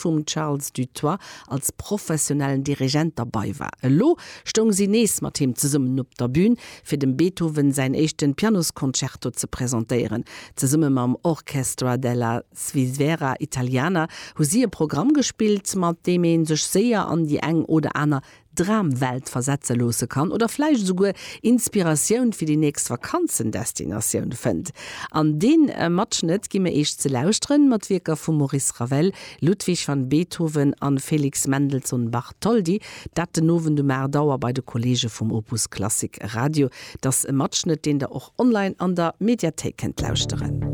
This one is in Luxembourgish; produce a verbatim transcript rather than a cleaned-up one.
vum Charles Dutoit als professionellen Dirigent derbäi war. Elo stoung si nees mat him zesummen op der Bün, fir dem Beethoven säin éischte Pianosconcerto ze presentéieren. Zesumme mam Orchestra della Svizzera Italiana hu si e Programm gespillt, mat deem ee sech séier an déi eng oder aner Dramwelt versetze loosse kann oder vläicht esouguer Inspiratioun fir déi nächst Vakanzendestinatioun fënnt. An dee äh, Matschnëtt gi mir iech ze lauschteren mat Wierker vum Maurice Ravel, Ludwig van Beethoven an Felix Mendelssohn Bartholdy, dat den Owend um aacht Auer bei de Kolleege vum Opus Klassik Radio. Dat ass e Matschnëtt, deen der och online an der Mediathéik kënnt lauschteren.